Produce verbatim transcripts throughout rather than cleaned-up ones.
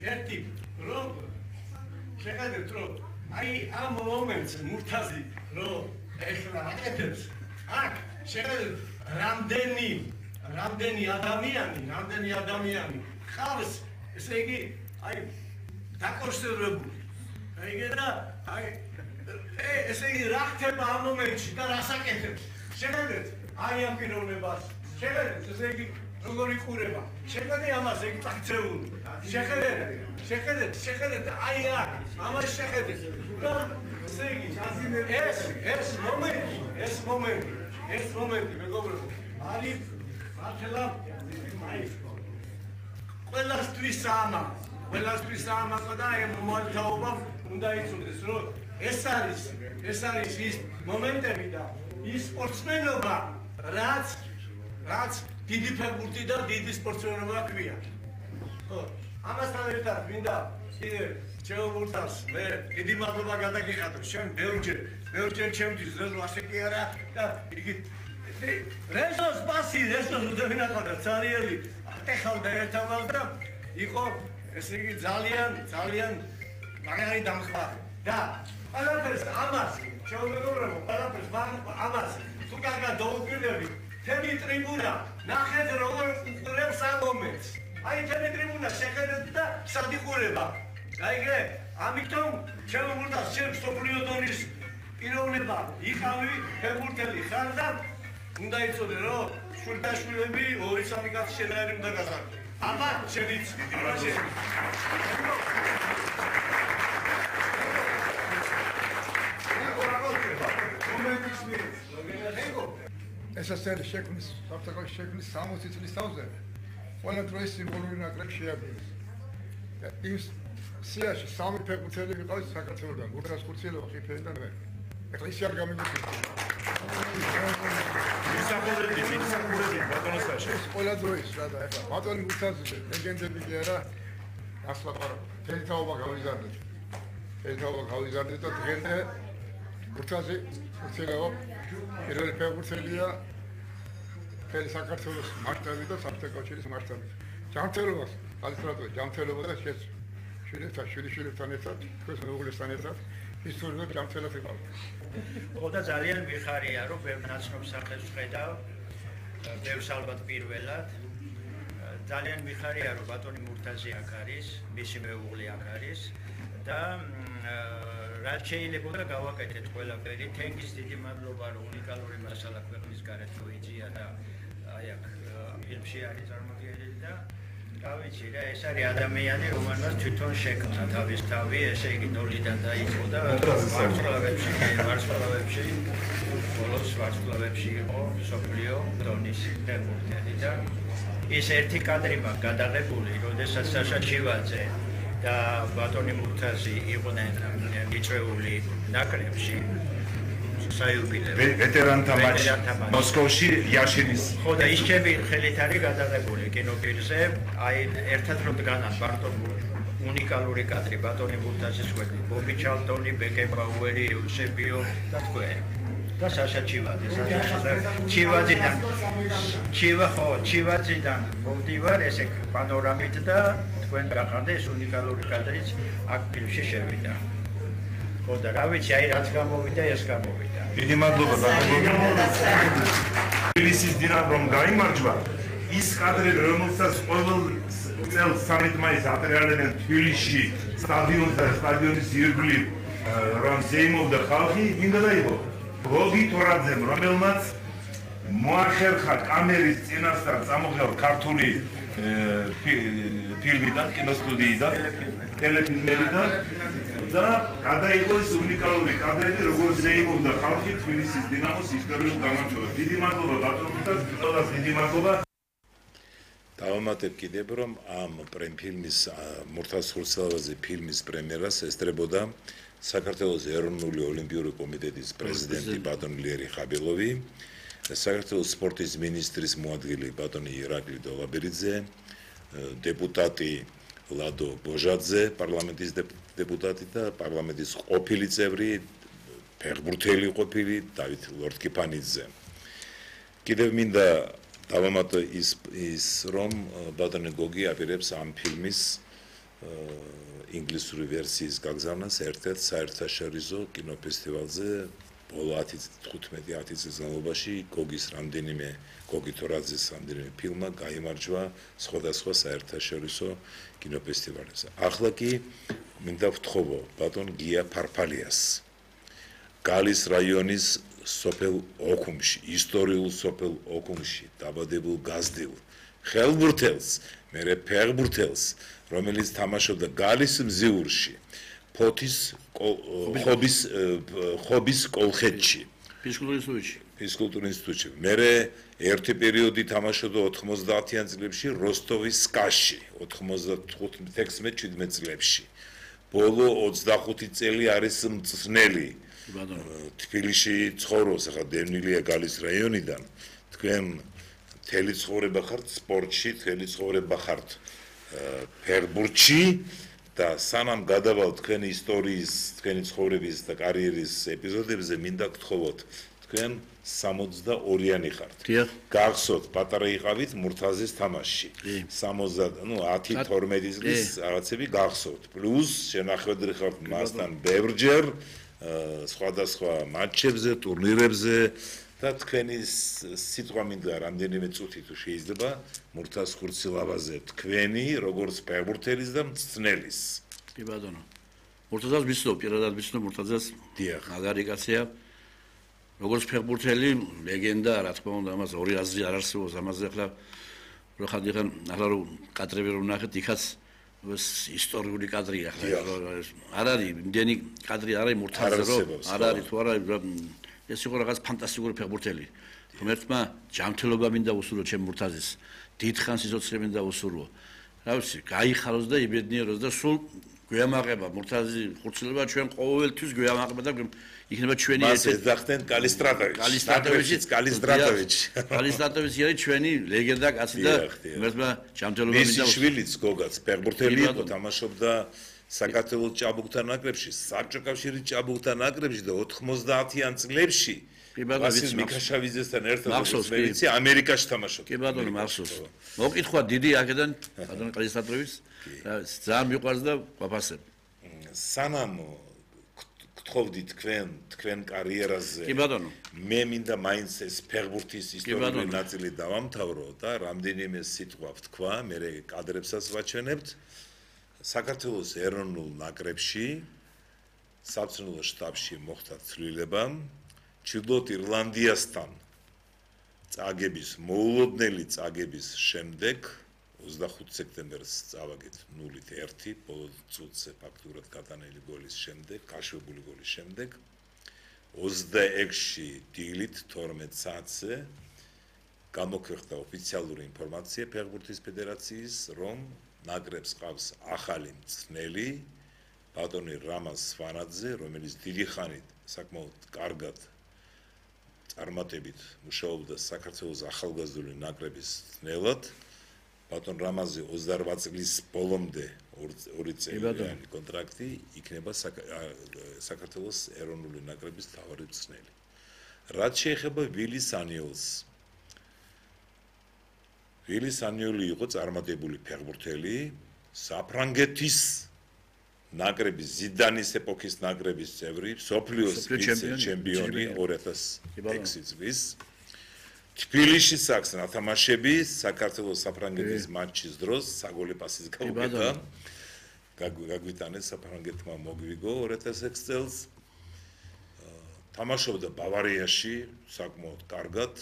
ერთი რომ შეხედეთ რომ აი ამ მომენტს მურთაზი რომ ეხლა აკეთებს აქ შეხედეთ რამდენი რამდენი ადამიანი რამდენი ადამიანი ხავს ესე იგი აი დაკონსერვებული აი და აი ესე იგი რა ხდება ამ მომენტში და რას აკეთებს შეხედეთ აი ამ პიროვნებას შეხედეთ ესე იგი როგორი ყურება შეხედეთ ამას ეგ წაქცეული შეხედეთ შეხედეთ შეხედეთ აი აქ ამას შეხედეთ და ესე იგი ეს ეს მომენტი ეს მომენტი ეს მომენტი მეგობრებო არის მართლა აი ყველასთვის ამა ყველასთვის ამა და ამ მომთაობა უნდა იცოდეს რომ ეს არის ეს არის ის მომენტები და ის სპორტსმენობა რაც რაც დიდი ფეხბურთი და დიდი სპორტსმენობა ქვია ხო ამასთან ერთად მინდა კიდე ჩემურთას მე დიდი მადლობა გადაგიხადო შენ ბევრჯერ ბევრჯერ ჩემთვის ზოგ ასე კი არა და იგი რეზოს პასი რეზოს უდევინახავდა ცარიელი ატეხავდა ერთმანეთს და იყო ესე იგი ძალიან ძალიან მაგარი დამხმარე და ყველაფერს ამას შეუმეგობრებო ყველაფერს ამას თუ კარგად დაუკვირდები თემი ტრიბუნა ნახეთ როგორ უყურებს ამ მომენტს აი თემი ტრიბუნა შეხედეთ და სადიყურება გაიგე ამიტომ შემოგვიდა შენ სოფლიო დონის პიროვნება იყავი ფეხბურთელი ხარ და უნდა იცოდე რომ შვილთაშვილები ორი სამი კაცი შენაერი უნდა გასაგო აბა შენიც აბა შენ ეს არის შექმნის საფრთხის შექმნის სამოცი წლის თავზე ყველა დროის სიმბოლური ნაკრები შეადგინეს და ის სიაში სამი ფეხბურთელი ვიყავით საქართველოსგან გურთას ხურციელო ხიფერი და მე ეხლა ისე არ გამიგოჩით ისაკურები ისაკურები ბატონოსაში ყველა დროის რა და ეხლა ბატონი გურთაზე ლეგენდები კი არა ასლა ყარა თელთაობა გავიზარდეთ თელთაობა გავიზარდეთ და დღემდე გურთაზე ხურციელო პირველი ფეხბურთელია მთელი საქართველოს მასშტაბით და საბჭოთა კავშირის მასშტაბით. ჯანმრთელობას ალისტრატორი ჯანმრთელობა და შეც შვილებთან შვილიშვილებთან ერთად თქვენს მეუღლესთან ერთად ისტორიულად ჯანმრთელად იყავ. ხო და ძალიან მიხარია რომ ბევრ ნაცნობ სახელს ვხედავ, ბევრს ალბათ პირველად. ძალიან მიხარია რომ ბატონი მურთაზი აქ არის, მისი მეუღლე აქ არის და რაც შეიძლება გავაკეთეთ ყველაფერი. თენგის დიდი მადლობა რომ უნიკალური მასალა ქვეყნის გარეთ მოიძია და აი აქ ფილმში არის წარმოდგენილი და რა ვიცი რა ეს არის ადამიანი რომელმაც თვითონ შექმნა თავის თავი ესე იგი ნოლიდან დაიწყო და ვარსკვლავებში ვარსკვლავებში ბოლოს ვარსკვლავებში იყო სოფლიო დონის ფეხბურთელი და ის ერთი კადრი მაქვს გადაღებული როდესაც საშა ჩივაძე და ბატონი მურთაზი იყვნენ მიწვეული ნაკრებში საიუბილეო ვეტერანთა მატჩი მოსკოვში იაშინის ხო და ის ჩემი ხელით არის გადაღებული კინოფილმზე აი ერთად რომ დგანან ბარტო უნიკალური კადრი ბატონი მურთაზის ხვედრი ბობი ჩალტონი ბეკენბაუერი ეუსებიო და თქვენ და საშა ჩივაძე ჩივაძიდან ჩივა ხო ჩივაძიდან მომდივარ ესე პანორამით და თქვენ გახანდა ეს უნიკალური კადრიც აქ ფილმში შევიდა ხო და რა ვიცი აი რაც გამოვიდა ეს გამოვიდა დიდი მადლობა თბილისის დინამომ გაიმარჯვა ის კადრები რომელსაც ყოველ წელს სამი მაისს ატრიალებენ თბილისში სტადიონზე სტადიონის ირგვლივ რომ ზეიმობდა ხალხი მინდა დაიღო გოგი თორაძემ რომელმაც მოახერხა კამერის წინასწარ წამოღება ქართული ფილმიდან კინოსტუდიიდან ტელეფილმებიდან და გადაიღო ეს უნიკალური კადრები როგორც ზეიმობდა ხალხი თბილისის დინამოს ისტორიულ გამარჯვებას. დიდი მადლობა ბატონებთან, ყველას დიდი მადლობა. დავამატებ კიდევ რომ ამ პრემფილმის მურთაზ ხურციელაძე ფილმის პრემიერას ესწრებოდა საქართველოს ეროვნული ოლიმპიური კომიტეტის პრეზიდენტი ბატონი ლიერი ხაბილოვი, საქართველოს სპორტის მინისტრის მოადგილე ბატონი ირაკლი დოლაბერიძე, დეპუტატი ლადო ბოჟაძე, პარლამენტის დეპუტატი და პარლამენტის ყოფილი წევრი, ფეხბურთელი ყოფილი დავით ლორთქიფანიძე. კიდევ მინდა დავამატო ის ის რომ ბატონი გოგი აპირებს ამ ფილმის ინგლისური ვერსიის გაგზავნას ერთ-ერთ საერთაშორისო კინოფესტივალზე ბოლო ათი-თხუთმეტი ათი წლის განმავლობაში გოგის რამდენიმე გოგი თორაძის რამდენიმე ფილმმა გაიმარჯვა სხვადასხვა საერთაშორისო კინოფესტივალებზე. ახლა კი მინდა ვთხოვო ბატონ გია ფარფალიას გალის რაიონის სოფელ ოქუმში, ისტორიულ სოფელ ოქუმში დაბადებულ გაზდილ ხელბურთელს, მერე ფეხბურთელს, რომელიც თამაშობდა გალის მზიურში, ფოთის ხობის ხობის კოლხეთში, ფიზკულტურის ინსტიტუტში. ფიზკულტურის ინსტიტუტში. მერე ერთი პერიოდი თამაშობდა ოთხმოცდაათიან წლებში როსტოვის სკაში, ოცდახუთი შვიდმეტ წლებში. ბოლო ოცდახუთი წელი არის მწნელი. თბილისში ცხოვრობს, ახლა დევნილია გალის რაიონიდან. თქვენ მთელი ცხოვრება ხართ სპორტში, მთელი ცხოვრება ხართ ფეხბურთში და სანამ გადავალთ თქვენი ისტორიის, თქვენი ცხოვრების და კარიერის ეპიზოდებზე, მინდა გთხოვოთ, თქვენ სამოცდაორიანი ხართ. გახსოვთ, პატარა იყავით მურთაზის თამაშში. სამოცდა, ნუ ათი თორმეტი წლის რაღაცები გახსოვთ. პლუს შენახვედრი ხართ მასთან ბევრჯერ სხვადასხვა მატჩებზე, ტურნირებზე და თქვენი სიტყვა მინდა რამდენიმე წუთი თუ შეიძლება მურთაზ ხურცილავაზე თქვენი როგორც ფეხბურთელის და მწნელის. კი ბატონო. მურთაზას ვიცნობ, პირადად ვიცნობ მურთაზას. დიახ. მაგარი კაცია. როგორც ფეხბურთელი, ლეგენდა, რა თქმა უნდა, ამას ორი აზრი არ არსებობს, ამაზე ახლა რო ხანდახან ახლა რო კადრები რო ნახეთ, იქაც ისტორიული კადრია ახლა. არ არის იმდენი კადრი არ არის მურთაზზე, რომ არ არის თუ არა ეს იყო რაღაც ფანტასტიკური ფეხბურთელი. ღმერთმა ჯანმრთელობა მინდა უსურვო ჩემ მურთაზის. დიდხანს სიცოცხლე მინდა უსურვო. რა ვიცი, გაიხაროს და იბედნიეროს და სულ გვიამაყება მურთაზი ხურცილება ჩვენ ყოველთვის გვიამაყება და იქნება ჩვენი ერთ-ერთი მას ეძახდნენ კალისტრატოვიჩი. კალისტრატოვიჩი, კალისტრატოვიჩი. კალისტრატოვიჩი არის ჩვენი ლეგენდა კაცი და ღმერთმა ჯანმრთელობა მინდა უსურვო. მისი შვილიც გოგაც ფეხბურთელი იყო, თამაშობდა საქართველოს ჭაბუკთა ნაკრებში, საბჭოთა კავშირის ჭაბუკთა ნაკრებში და ოთხმოცდაათიან წლებში ვასილ მიქაშავიძესთან ერთად მეცი ამერიკაში თამაშობდა. კი ბატონო, მახსოვს. მოკითხვა დიდი აქედან ბატონო კალისტრატოვის ძალიან მიყვარს და ვაფასებ. სანამ გთხოვდი თქვენ თქვენ კარიერაზე. კი ბატონო. მე მინდა მაინც ეს ფეხბურთის ისტორიული ნაწილი დავამთავრო და რამდენიმე სიტყვა ვთქვა, მე კადრებსაც ვაჩვენებთ. საქართველოს ეროვნულ ნაკრებში საბრძოლო შტაბში მოხდა ცვლილება ჩრდილოეთ ირლანდიასთან წაგების მოულოდნელი წაგების შემდეგ ოცდახუთი სექტემბერს წავაგეთ ნულით ერთი ბოლო წუთზე ფაქტურად გადანელი გოლის შემდეგ, გაშვებული გოლის შემდეგ ოცდაექვსი დილით თორმეტ საათზე გამოქვეყნდა ოფიციალური ინფორმაცია ფეხბურთის ფედერაციის, რომ ნაკრებს ყავს ახალი მწნელი ბატონი რამაზ სვანაძე, რომელიც დიდი ხანით საკმაოდ კარგად წარმატებით მუშაობდა საქართველოს ახალგაზრდული ნაკრების მწნელად. ბატონ რამაზი ოცდარბა წლის ბოლომდე ორი წელიანი კონტრაქტი იქნება საქართველოს ეროვნული ნაკრების მთავარი მწნელი. რაც შეეხება ვილის ანიოლს. ვილის ანიოლი იყო წარმატებული ფეხბურთელი, საფრანგეთის ნაკრების ზიდანის ეპოქის ნაკრების წევრი, მსოფლიოს ვიცე-ჩემპიონი ორი ათას ექვსი წლის. თბილისში საქმე ათამაშები საქართველოს საფრანგეთის მატჩის დროს საგოლე პასის გაუკეთა. გაგვიტანეს საფრანგეთმა მოგვიგო ორი ათას ექვსი წელს. თამაშობდა ბავარიაში საკმაოდ კარგად.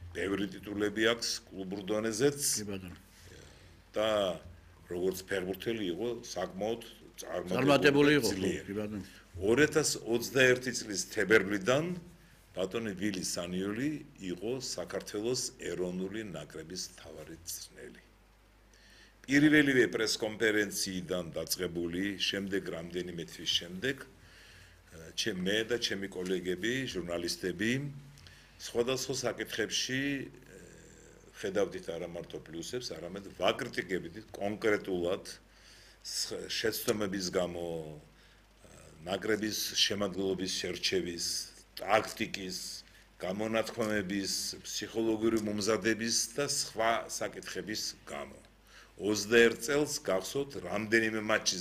ბევრი ტიტულები აქვს კლუბურ დონეზეც. და როგორც ფეხბურთელი იყო საკმაოდ წარმატებული იყო. ორი ათას ოცდაერთი წლის თებერვლიდან ბატონი ვილის ანიოლი იყო საქართველოს ეროვნული ნაკრების მთავარი მწვრთნელი. პირველივე პრესკონფერენციიდან დაწყებული, შემდეგ რამდენიმე თვის შემდეგ, მე და ჩემი კოლეგები, ჟურნალისტები, სხვადასხვა საკითხებში ხედავდით არა მარტო პლუსებს, არამედ ვაკრიტიკებდით კონკრეტულად შეცდომების გამო, ნაკრების შემადგენლობის შერჩევის, ტაქტიკის, გამონათქვამების, ფსიქოლოგიური მომზადების და სხვა საკითხების გამო. ოცდაერთ წელს გახსოვთ რამდენიმე მატჩი